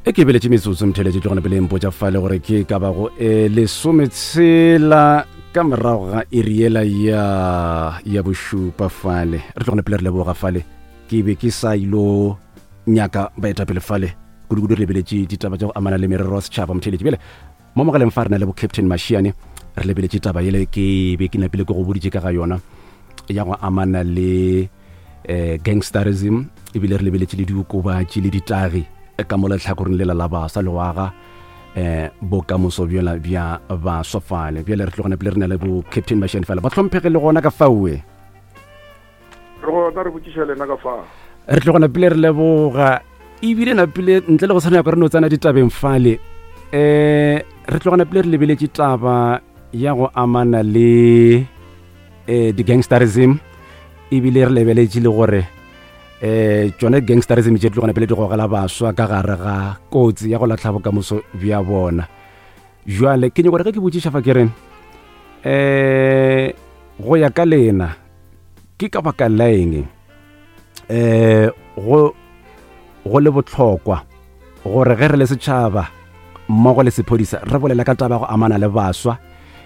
E ke beletše metsotso mtheletše tlogona pele mpotša fale gore ke ka bago e lesometshela ka morago ga iri yela ya ya bošupa fale re tlogona pele re leboga fale ke be ke sa ilo nyaka baetapele fale kudukudu re lebeletše ditaba tša go amana le merero ya setšhaba motheletše bjale Mo mogaleng fa re na le bo Captain Mashiane, re lebeletše taba yele ke be ke napile ke go boditše ka ga yona ya go amana le eh, gangsterism ebile re lebeletše le diokobatši le ditagi eh, ka mo letlhakoreng lela la baswa le go aga eh bokamoso bjola bja baswa fale bjale re tlogana pele re na le bo captain Mashiane fale ba hlomphege le gona ka faoe re gona re botšiša lena ka fa re tlogana pele re leboga ebile napile ntle le go tshwana yako re no tsena ditabeng fale um re tlogana pele re lebeletše taba ya go amana le um di-gangsterism ebile re lebeletše le gore um tšone gangsterism tše tlogana pele di gogela baswa ka gare ga kotsi ya go latlha bokamoso bja bona jwale ke nyako gore ge ke botšiša fa ke re um go ya ka lena ke ka baka la eng um go go le bohlokwa gore ge re le setšhaba mmogo le sephodisa re bolela ka taba go amana le baswa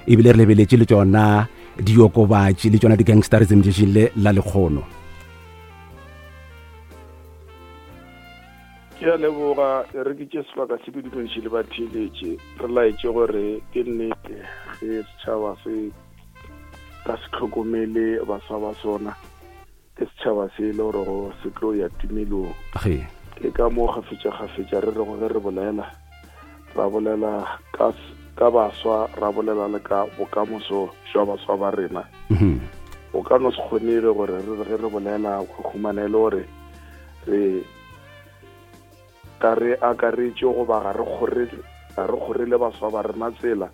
ebile re lebeletše le tšona diokobatši le tšona di-gangsterism tšešing le la lekgono Ke a leboga, e re ke tše sebaka se ke dumediše le batheeletše, re laetše gore ke nnete ge setšhaba se ka se tlhokomele baswa ba sona, ke setšhaba se e le gorego se tlo ya timelong. Ke ka moo kgafetša-kgafetša re rego ge re bolela, ra bolela ka, ka baswa, ra bolela le ka bokamoso jwa baswa ba rena. Go ka no se kgonege gore re re ge re bolela go humana e le gore re ga re akaretše goba ga re kgorele ga re kgorele baswa ba rena tsela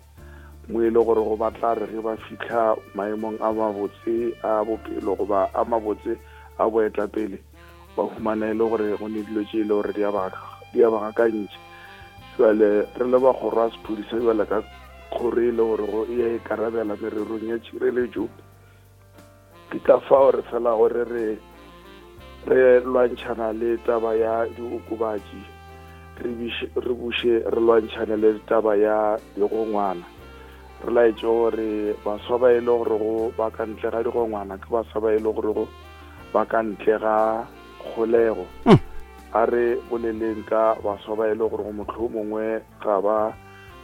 mo e le gore go ba tla re ge ba fitlha maemong a mabotse a bophelo goba a mabotse a boetapele ba humana e le gore go ne dilo tše e le gore di a ba gakantšha jale re le ba kgoro ya sephodisa jale ka kgoro e le gore go e ya ikarabela mererong ya tšhireletšo Ke ka fao re felago re re re lwantšhana le taba ya diokobatši, re re buše re lwantšhane le taba ya digongwana. Re laetše gore baswa ba e le gorego ba ka ntle ga digongwana ke baswa ba e le gorego ba ka ntle ga kgolego. Hmm. A re boleleng ka baswa ba e le gorego mohlomongwe ga ba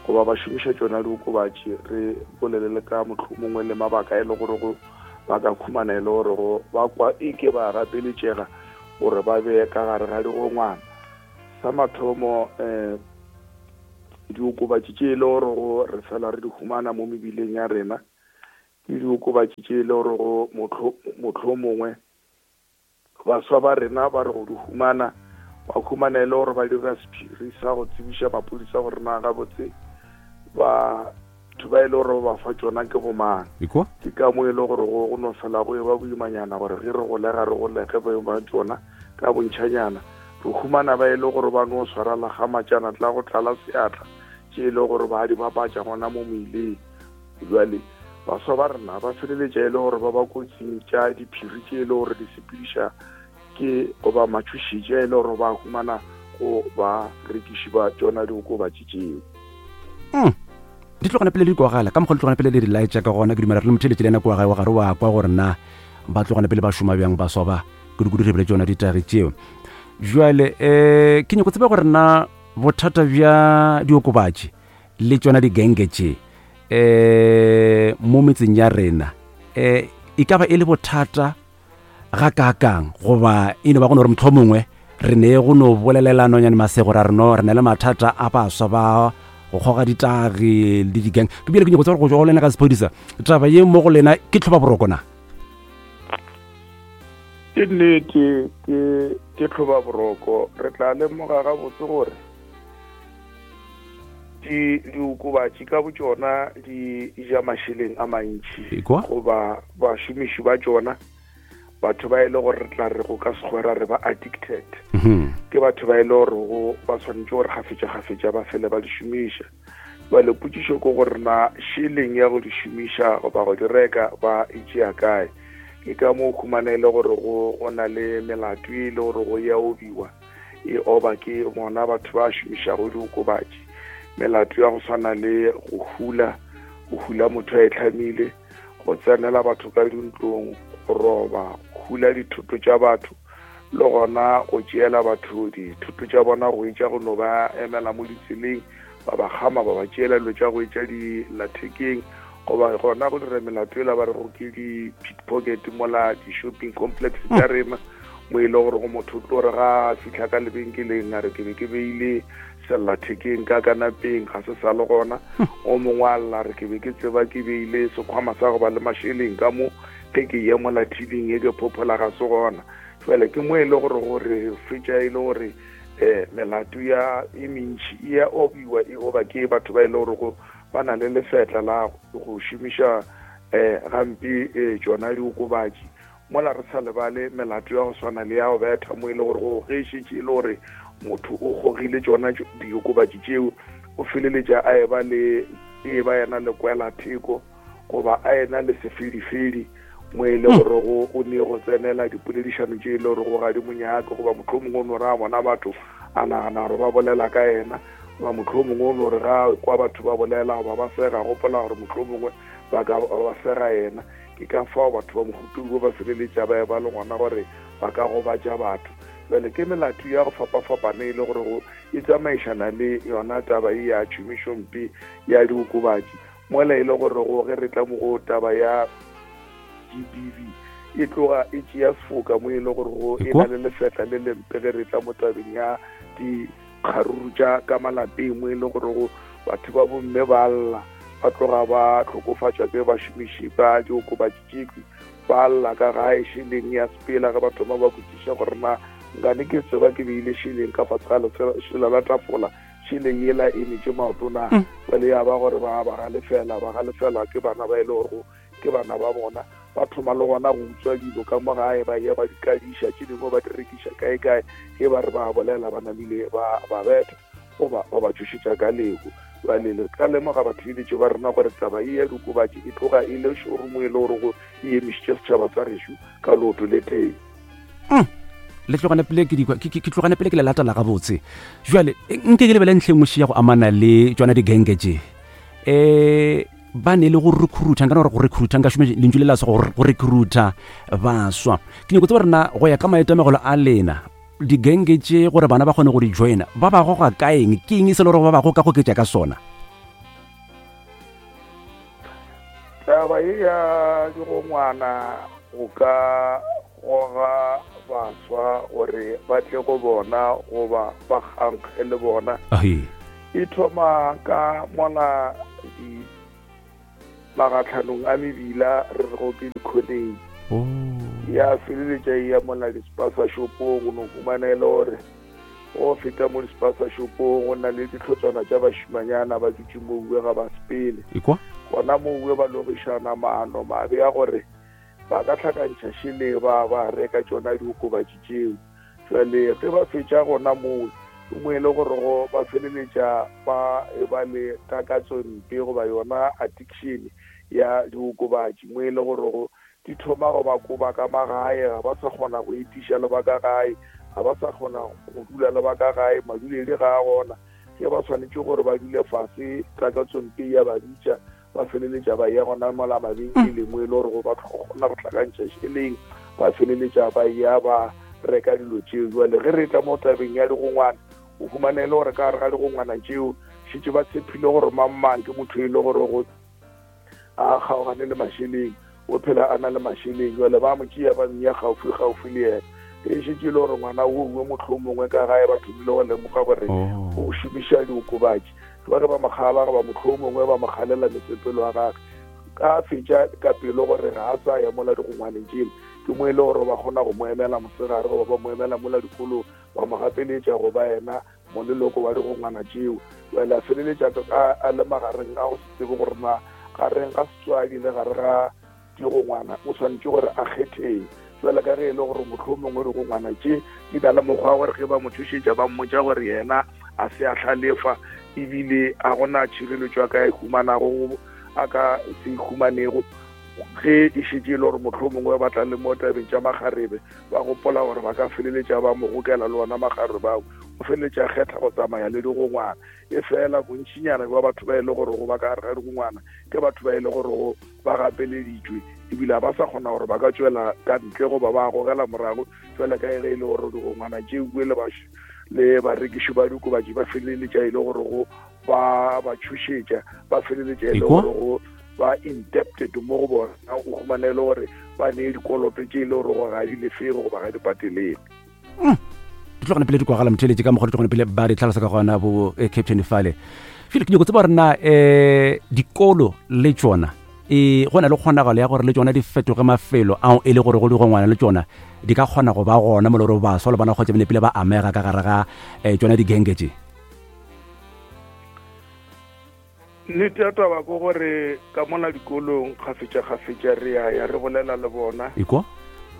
goba ba šomiša tšona diokobatši re bolele le ka mohlomongwe le mabaka e le gore go ba ka khumana e le gore go ba kwa e ke ba gapeletšega gore ba be ka gare ga digongwana sa mathomo um diokobatši tše e le gore go re fela re di humana mo mebileng ya rena ke diokobatši tše e le gore go mohlomongwe Baswa ba rena ba re go di humana, ba humana e le gore ba dira sephiri sa go tsebiša maphodisa gore na gabotse batho ba e le gore ba ba fa tšona ke bomang. Ke ka mo e le gore go no fela go e ba boimanyana gore ge re golega re golege ba ba tšona ka bontšhanyana. Re humana ba e le gore ba no swara lagamatšana tla go tlala seatla tše e le gore ba di bapatša gona mo moileng. Bjale, baswa ba rena ba feleletša e le gore ba ba kotsing tša diphiri tše e le gore di sepediša ke goba matšhošetši a e le gore ba humana go ba rekiši ba tšona diokobatši tšeo. Mm. Di tlogana pele di kwagala ka mokgwa di tlogana pele di laetša ka gona ke dumela re le motheletši le yena kua gae wa gare wa kwa gore na ba tlogana pele ba šoma bjang baswa ba kudu-kudu re bile tšona ditagi tšeo jale um ke nyako tseba gore na bothata bja diokobatši le tšona digenge tše um mo metseng ya rena um e ka ba e le bothata ga kaakang goba e no ba go no re motlho mongwe re ne go no bolelela nonyane masego ra re no re na le mathata a baswa ba go kgoga ditagi le digang ke bile ke nyako tseba gore go tšwa go lena ka sephodisa taba ye mo go lena ke tlhoba boroko na ke nnete ke ke tlhoba boroko re tla lemoga gabotse gore Di diokobatši ka botšona di ja mašeleng a mantši goba bašomiši ba tšona batho ba e le gore re tla re go ka sekgwera re ba addicted mhm. ke batho ba e le gore go ba swanetše gore gafetša-gafetša ba fele ba di šomiša jale potšišo ke gore na šeleng ya go di šomiša goba go di reka ba e tšea kae ke ka moo khumana e le gore go na le melato e le gore go ya obiwa. e oba ke bona batho ba šomišago diokobatši. Melato ya go swana le go hula, go hula motho a e tlhamile, go tsenela batho ka dintlong, go roba, go hula dithoto tša batho, le gona go tšeela batho dithoto tša bona go etša go no ba emela mo ditseleng, ba ba kgama, ba ba tšeela dilo tša go etša dillathekeng, goba gona go dira melato ela ba rego ke di-pickpocket mola di-shopping complex tša rena, mo e le gore go motho o tlo re ga a fihla ka lebenkeleng a re ke be ke beile sellathekeng ka kanapeng, ga se sa le gona. O mongwe a lla re ke be ke tseba ke beile sekhwama sa go ba le mašeleng ka mo, ge ke ye mola thibing e ke phophola ga se gona. Jwale ke mo e le gore gore fetša e le gore um melato ya e mentši e ya obiwa e oba ke batho ba e le gore go ba na le lefetla la go šomiša um gampe um tšona diokobatši. Mola re sa lebale melato ya go swana le ya go betha, mo e le gore go ge e šetše e le gore motho o gogile tšona diokobatši tšeo, o feleletša a eba le e ba yena le kwela theko goba a ena le sefedifedi, mo e le gore go o ne go tsenela dipoledišano tše e le gore go ga di monyake, goba mohlomongwe o no re a bona batho a nagana gore ba bolela ka yena, goba mohlomongwe o no re ga kwa batho ba bolela goba ba sega, gopola gore mohlomongwe ba ka ba sega yena. Ke ka fao batho ba mohuta wo ba feleletša ba eba le gona gore ba ka gobatša batho. Bjale ke melato ya go fapafapana e le gore go e tsamaišana le yona taba ye ya tšhomišompe ya diokobatši, mola e le gore go ge re tla mo go taba ya GBV e tloga e tšea sefoka mo e le gore go e na le lefetla le lempe ge re tla mo tabeng ya dikgaruru tša ka malapeng, mo e le gore go batho ba bomme ba lla ba tloga ba hlokofatšwa ke bašomiši ba diokobatši tšekwi, ba lla ka gae šeleng ya sepela ge ba thoma ba botšiša gore na nkane ke tseba ke beile šeleng ka fase ga lešela la tafola, šeleng yela e metše maoto na. Jwale ya ba gore ba ba galefela, ba galefelwa ke bana ba e le gore ke bana ba bona, ba thoma le gona go utswa dilo ka mo gae, ba ya ba di kadiša, tše dingwe ba di rekiša kae kae, ge ba re ba bolela ba namile ba ba betha goba ba ba tšhošetša ka lehu. Bjale le ka lemoga batheeletši ba rena gore taba ye ya diokobatši e tloga e le šoro mo e le gore go e emišitše setšhaba sa gešo ka leoto le tee. Le tlogane pele ke dikwa ke tlogane pele ke le latela gabotse. Jwale nke ke lebele ntlheng moši ya go amana le tšona digenge tše. Ba ne le go recruita, nka no re go recruita, nka šome lentšu le la se go recruita baswa. Ke nyako tseba rena go ya ka maitemogelo a lena, digenge tše gore bana ba kgone go di joina, ba ba goga ka eng? Ke eng e se le gore ba ba goka goketša ka sona? Taba ye ya digongwana go ka goga baswa gore ba tle go bona goba ba kgankge le bona e thoma ka mola di magatlhanong a mebila re re go ke dikhoneng. Ya feleletša e ya mola di-spaza shopong, o no humana e le gore go feta mo di-spaza shopong go na le ditlhotswana tša bašimanyana ba dutše mouwe ga ba sepele. Gona mouwe ba logišana maano mabe a gore ba ka hlakantšha šele ba ba reka tšona diokobatši tšeo. Jwale ge ba fetša gona moo, ke mo e le gore go ba feleletša ba e ba le takatso mpe goba yona addiction ya diokobatši, mo e le gore go di thoma go ba koba ka magae, ga ba sa kgona go etiša le ba ka gae, ga ba sa kgona go dula le ba ka gae, maduledi ga a gona. Ge ba swanetše gore ba dule fase, takatso mpe ya ba bitša, ba feleletša ba ya gona mola mabenkeleng mo e le gore go ba kgona go hlakantšha šeleng, ba feleletša ba ya ba reka dilo tšeo. Jwale ge re tla mo tabeng ya digongwana, o humana e le gore ka gare ga digongwana tšeo šetše ba tshepile gore mang mang ke motho e le gore go a kgaogane le mašeleng, o phela a na le mašeleng. Jwale ba mo tšea ba mmea gaufi gaufi le yena. E šetše e le gore ngwana o mongwe mohlomongwe ka gae ba thomile go lemoga gore o šomiša diokobatši, ba re ba mo kgala goba mohlomongwe ba mo kgalela mesepelo ya gagwe, ka fetša ka pelo gore ga a sa ya mola digongwaneng tšele. Ke mo e le gore ba kgona go mo emela mosegare goba ba mo emela mola dikolong, ba mo gapeletša go ba yena moleloko wa digongwana tšeo. Jwale a feleletša a le magareng a go se tsebe gore na gareng ga setswadi le gare ga digongwana o swanetše gore a kgetheng. Jwale ka ge e le gore mohlomongwe digongwana tše di na le mokgwa wa gore ge ba mo tšhošetša ba mmotša gore yena a se a hlalefa ebile a gona tšhireletšo a ka e humanago, a ka se e humanego. Ge e šetše e le gore mohlomongwe ba tla le mo tabeng tša makgarebe, ba gopola gore ba ka feleletša ba mo gokela le ona makgarebe ao, o feleletša a kgetha go tsamaya le digongwana. E fela bontšinyana bja batho ba e le gore ba ka gare ga digongwana ke batho ba e le gore ba gapeleditšwe ebile ga ba sa kgona gore ba ka tšwela ka ntle goba ba gogela morago jwale ka ge e le gore digongwana tšeo le le barekiši ba diokobatši ba feleletša e le gore go ba ba tšhošetša ba feleletša e le gore go ba indebted mo go bona o humane e le gore ba nee dikoloto tše e le gore go ga di lefege goba ga di patelege. Di tlogane pele di kwagala motheletše ka mokgwa di tlogane pele ba di tlhalosa ka gona bo eh, captain fale fele ke nyako tseba gore na um dikolo le tšona e go na le kgonagalo ya gore le tšona di fetoge mafelo ao e le gore go digongwana le tšona di ka kgona go ba gona mo le gore baswa le bona kgotsa bene pele ba amega ka gare ga um tšona digenge tše. Nnete ya taba ke gore ka mola dikolong kgafetša-kgafetša re a ya re bolela le bona. Ekwa.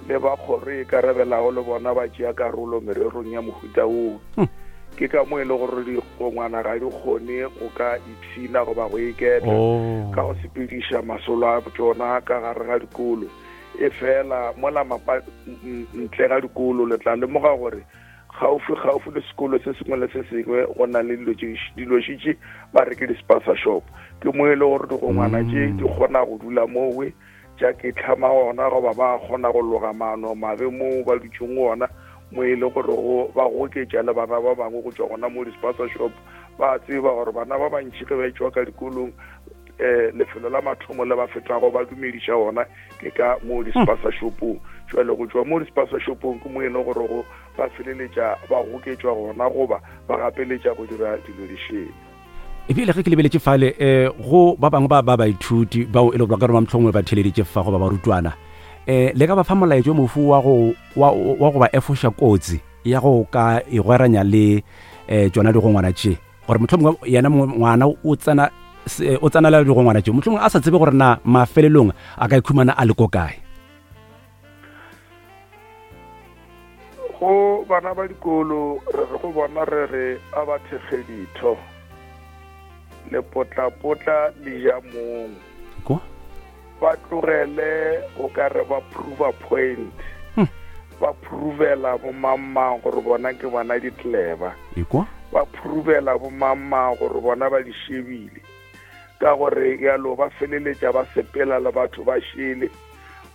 Le ba kgoro e ikarabelago le bona ba tšea karolo mererong ya mohuta woo. Ke ka mo e le gore digongwana ga di kgone go ka ipshina goba go iketla Oh. ka go sepediša masolo a tšona ka gare ga dikolo. Efela mola mapa ntle ga dikolo le tla lemoga gore Kgaufsi-kgaufsi le sekolo se sengwe le se sengwe go na le dilo tše dilo šitše ba re ke di-spaza shop. Ke mo e le gore digongwana tše di kgona go dula mowe tša ke tlhama gona goba ba kgona go loga maano mabe moo ba dutšeng gona mo e le gore go ba goketša le bana ba bangwe go tšwa gona mo di-spaza shop. Ba tseba gore bana ba bantši ge ba etšwa ka dikolong um lefelo la mathomo le ba fetago ba dumediša gona ke ka mo di-spaza shopong. Jwale go tšwa mo di-spaza shopong ke mo e le gore go ba feleletša ba goketšwa gona goba ba gapeletša go dira dilo di šele. Ebile ge ke lebeletše fale um go ba bangwe ba ba baithuti bao e le gore ba ka roma mohlomongwe ba theleditše fa goba barutwana um le ka ba fa molaetšo mofu wa go wa wa go ba efoša kotsi ya go ka igweranya le um tšona digongwana tše gore mohlomongwe yena ngwana o tsena o tsenela digongwana tše mohlomongwe a sa tsebe gore na mafelelong a ka ikhumana a le ko kae. Go bana ba dikolo re re go bona re re a ba thekge ditho, lepotlapotla le ja mong. Kwa? Ba tlogele go ka re ba prove point. Hmm. Ba provela bo mang-mang gore bona ke bona ditleba. Ekwa? Ba provela bo mang-mang gore bona ba di shebile. Ka gore yalo ba feleletša ba sepela le batho ba šele.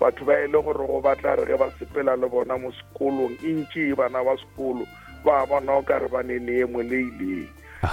Batho ba e le gore go ba tla re ge ba sepela le bona mo sekolong, e ntši e bana ba sekolo ba bona o ka re ba ne leemo le ileng.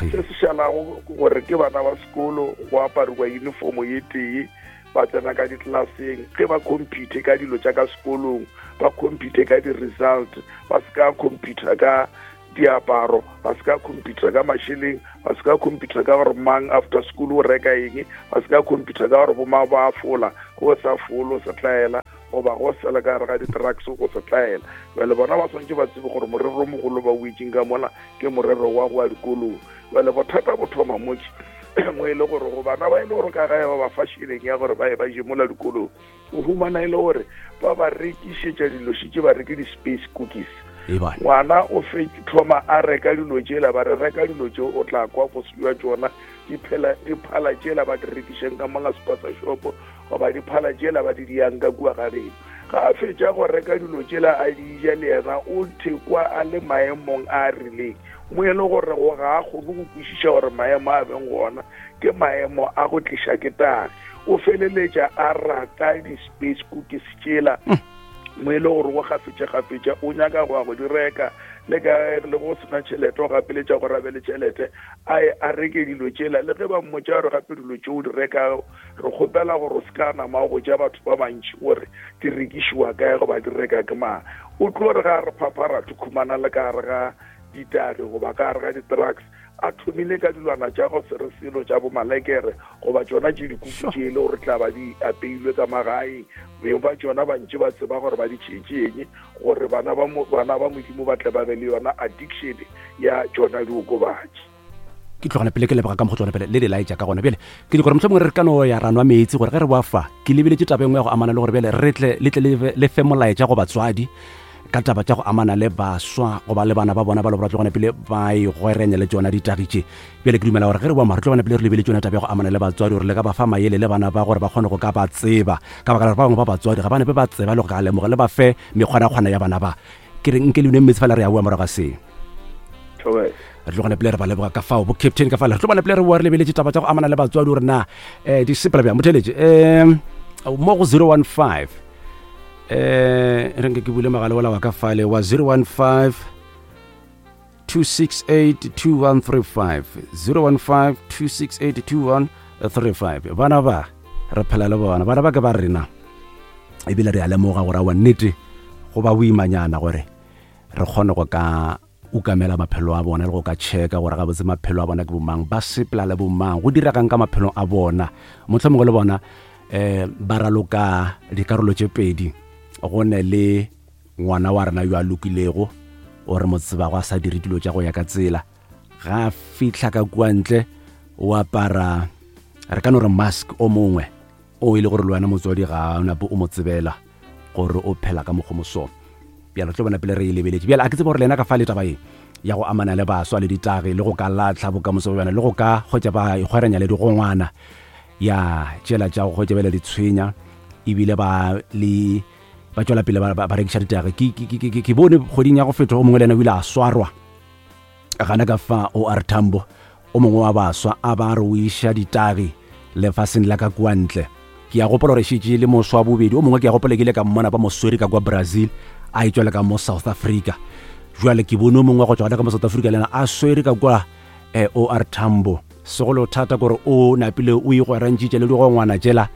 Se se šalago ke gore ke bana ba sekolo, go apariwa uniformo ye tee, ba tsena ka ditlelaseng, ge ba compete ka dilo tša ka sekolong, ba compete ka di-result, ba se ka compete ka diaparo, ba se ka compete ka mašeleng, ba se ka compete ka gore mang after school o reka eng, ba se ka compete ka gore bomang ba fola, go sa folo se tlaela goba go sela ka gare ga di-drugs go se tlaela. Bjale bona ba swanetše ba tsebe gore morero o mogolo ba o itšeng ka mola ke morero wa go ya dikolong. Bjale bothata bo thoma motše mo e le gore go bana ba e le gore ka gae ba ba fa šeleng ya gore ba ye ba je mola dikolong, o humana e le gore ba ba rekišetša dilo šitše ba reke di-space cookies. Ngwana o fe thoma a reka dilo tšela, ba re reka dilo tše o tla kwa bose bja tšona, di phala tšela ba di rekišeng ka mola spaza shop goba di phala tšela ba di diyang ka kua ga geno. Ga a fetša go reka dilo tšela a di ja le yena o thekwa a le maemong a a rileng mo e le gore go ga a kgone go kwešiša gore maemo a beng gona ke maemo a go tliša ke tagi. O feleletša a rata di-space cookies tšela mo e le gore go gafetša-gafetša o nyaka go ya go di reka, le ka le go sena tšhelete o gapeletša gore a be le tšhelete a ye a reke dilo tšela. Le ge ba mmotša gore gape dilo tše o di rekago re kgopela gore o se ka nama o botša batho ba bantši gore di rekišiwa kae goba di reka ke mang, o tlo re ga re phapharatho khumana le ka gare ga ditagi goba ka gare ga di-drugs a thomile ka dilwana tša go se re selo tša bomalekere goba tšona tše dikuku tše e le gore tla ba di apeilwe ka magaeng, beng ba tšona ba ntše ba tseba gore ba di tšhetšeng gore bana ba bana ba Modimo ba tle ba be le yona addiction ya tšona diokobatši. Ke tlogana pele ke leboga ka mokgwa tsona pele le di laetša ka gona. Bjale ke di gore mohlomongwe re ka no ya ra nwa meetse gore ge re boa fa ke lebeletše taba e nngwe ya go amana le gore bjale re tle le tle le fe molaetša go batswadi. Ka taba tša go amana le baswa goba le bana ba bona ba le gore ba tlogana pele ba igweranya le tšona ditagi tše. Bjale ke dumela gore ge re boa mo re tlo bona pele re lebeletše yona taba ya go amana le batswadi gore le ka ba fa maele le bana ba gore ba kgone go ka ba tseba, ka baka la gore ba bangwe ba batswadi ga ba nepe ba tseba le go ka lemoga le ba fe mekgwanakgwana ya bana ba. Ke re nke le nweng meetse fela re ya boa morago ga se. Thobela. Re tlo gona pele re ba leboga ka fao bo captain ka fale re tlo bona pele re boa re lebeletše taba tša go amana le batswadi gore na um di sepela bjang. Motheletše um mo go 015 eh re nke ke bule mogala ola wa ka fale wa 015 268 2135 015 268 2135 bana ba re phela le bona bana ba ke ba rena ebile re a lemoga gore awa nnete go ba boimanyana gore re kgone go ka ukamela maphelo a bona le go ka checka gore gabotse maphelo a bona ke bomang, ba sepela le bomang, go diregang ka maphelong a bona. Mohlomongwe le bona um ba raloka dikarolo tše pedi, go ne le ngwana wa rena yo a lokilego o re mo tsebago a sa dire dilo tša go ya ka tsela, ga a fihla ka kua ntle o apara re ka no re mask o mongwe o e le gore le wena motswadi ga o nape o mo tsebela gore o phela ka mokgwa moso. Bjale tlo bona pele re e lebeletše. Bjale a ke tsebe gore lena ka fa le taba ye ya go amana le baswa le ditagi le go ka latlha bokamoso bja bona le go ka hwetša ba ikgweranya le digongwana ya tšela tša go hwetša bjale di tshwenya ebile ba le ba tšwela pele ba rekiša ditagi. Ke bone kgweding ya go feta o mongwe le yena o ile a swarwa gana ka fa o R Tambo, o mongwe wa baswa a ba re o iša ditagi lefaseng la ka kua ntle. Ke a gopola gore šetše le moswa wa bobedi o mongwe ke a gopola ke ile ka mmona ba mo swere ka kwa Brazil a e tšwela ka mo South Africa. Jwale ke bone o mongwe go tšwa gona ka mo South Africa le yena a swere ka kwa eh, OR Tambo. Segolo thata kore o napile o igwerantšitše le digongwana tšela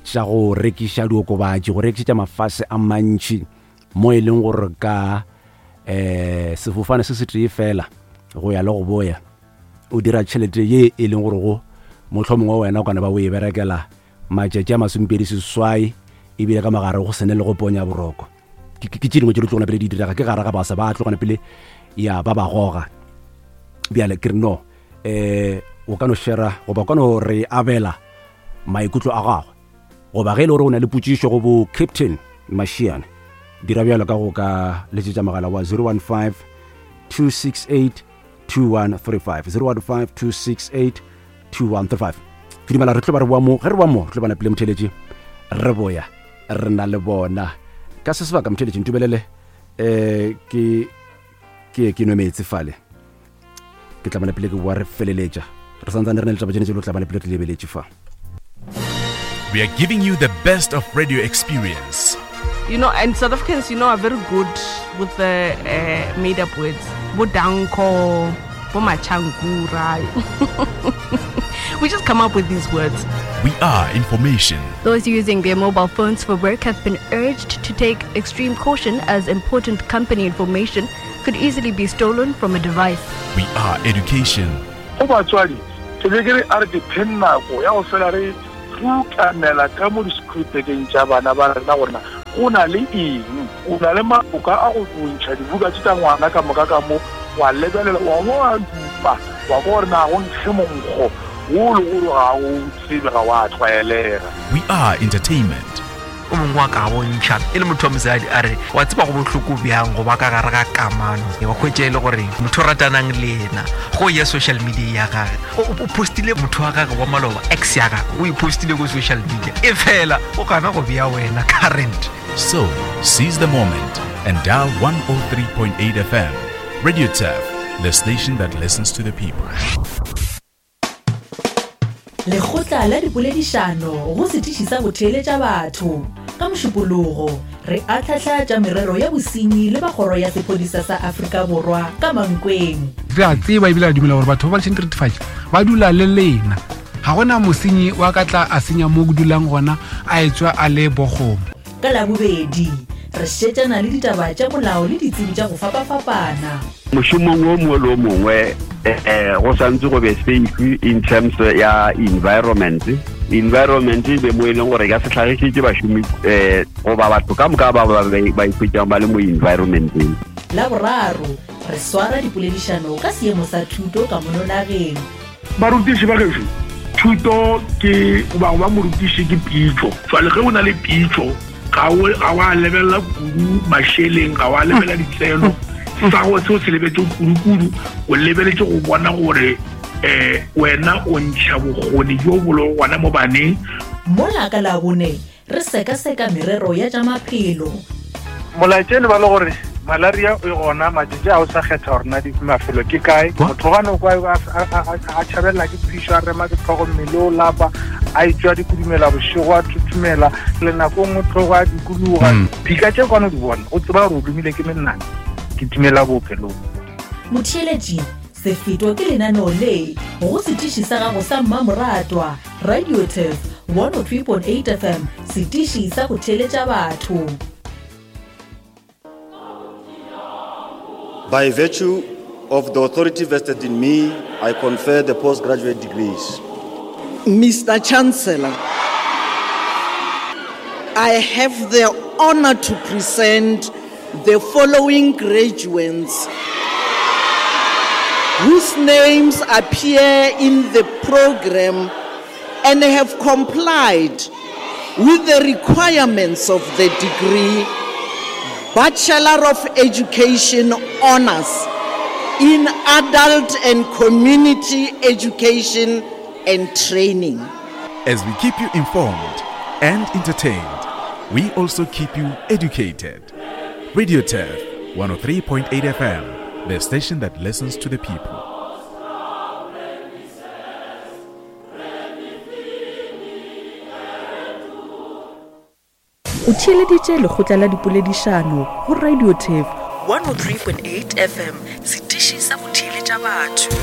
tša go rekiša diokobatši, go rekišetša mafase a mantši mo e leng gore ka eh sefofane se se tee fela go ya le go boya o dira tšhelete ye e leng gore go mohlomongwe wena o kana ba o e berekela matšatši a masomepedi seswai ebile ka mogare go sene le go ponya boroko. Ke tše dingwe tše di tlogana pele di direga ke gare ga basa ba tlogana pele ya ba ba goga. Bjale ke re no eh o ka no shera goba o ka no re abela maikutlo a gagwe goba ge e le gore o na le potšišo go bo Captain Mashiane, dira bjalo ka go ka letšetša mogala wa 015 268 2135 015 268 2135. Ke dumela re tlo ba re boa mo, ge re boa mo re tlo ba napile motheletši re boya re na le bona ka se sebaka. Motheletši ntumelele um ke ke ke nwe meetse fale, ke tla bona pele ke boa re feleletša re santsane re na le taba tšene tše lo tla bona pele re lebeletše fa. We are giving you the best of radio experience. You know, and South Africans, you know, are very good with the made-up words. Bo danko, bo machangura. We just come up with these words. We are information. Those using their mobile phones for work have been urged to take extreme caution as important company information could easily be stolen from a device. We are education. Go batswadi, ke be ke re a re ke pheng nako ya go fela re rutamela ka mo di-school-bekeng tša bana ba rena gore na go na le eng. O na le maloka a go ntšha dibuka tše tša ngwana ka moka ka mo, wa lebelela, wa bo wa dupa, wa kwa gore na go nkge monkgo wo le gore ga o tsebe, ga wa tlwaelega. We are entertainment. O mongwe wa ka bontšha e le motho wa mosadi a re, wa tseba go bohloko bjang go ba ka gare ga kamano, wa hwetša e le gore motho o ratanang le yena go ya social media ya gage o postile motho wa gage wa maloba, ex ya gage o e postile ko social media, e fela o gana go bea wena current. So, seize the moment and dial 103.8 FM. Radio Turf, the station that listens to the people. Lekgotla la dipoledišano go setiši sa go theeletša batho. Ka Mošupologo, re ahlahla tša merero ya bosenyi le ba kgoro ya sephodisa sa Afrika Borwa ka Mankweng. Re a tseba ebile re dumela gore batho ba ba lešeng diretefatši ba dula le lena. Ga gona mosenyi wa ka tla a senya mo ke dulang gona a etšwa a le bokgomo. Ka Labobedi, re šetšana le ditaba tša molao le ditsebi tša go fapafapana. Mošomong wo mongwe le wo mongwe um go santse go be safe in terms ya environment. Environment e be mo e leng gore e ka se hlagišetše bašomi um goba batho ka moka ba ba ikhwetšang ba le mo environmenteng. Laboraro, re swara dipoledišano ka seemo sa thuto ka mono nageng. Barutiši ba gešo, thuto ke goba go ba morutiši ke pitšo. Jwale ge o na le pitšo, Ga o ga wa lebelela kudu mašeleng, ga wa lebelela ditseno. Sa go seo se lebetse kudu-kudu, o lebeletse go bona gore eh wena o ntšha bokgoni bjo bo lego gona mo baneng. Mola ka Labone re sekaseka merero ya tša maphelo. Molaetša e ne ba le gore malaria e gona matšatši a o sa kgetha gore na mafelo ke kae. Motho gane o kwa a tšhabelela ke phišo, a rema ke tlhogo, mmele o lapa, a etswa dikudumela bošego, a thuthumela le nako nngwe tlhogo a dikologa. Dika tše kwane o di bona, o tseba gore o lomile ke menang, ke timela bookelong. Motheeletši, se fetwa ke lenaneo le go setiši sa gago sa mmamoratwa, Radio Turf 103.8 FM, setiši sa go theeletša batho. By virtue of the authority vested in me, I confer the postgraduate degrees. Mr. Chancellor, I have the honor to present the following graduates whose names appear in the program and have complied with the requirements of the degree Bachelor of Education Honors in Adult and Community Education and Training. As we keep you informed and entertained, we also keep you educated. Radio Turf 103.8 FM, the station that listens to the people. O theeleditše lekgotla la dipoledišano go Radio Turf 103.8 FM, setiši sa go theeletša batho.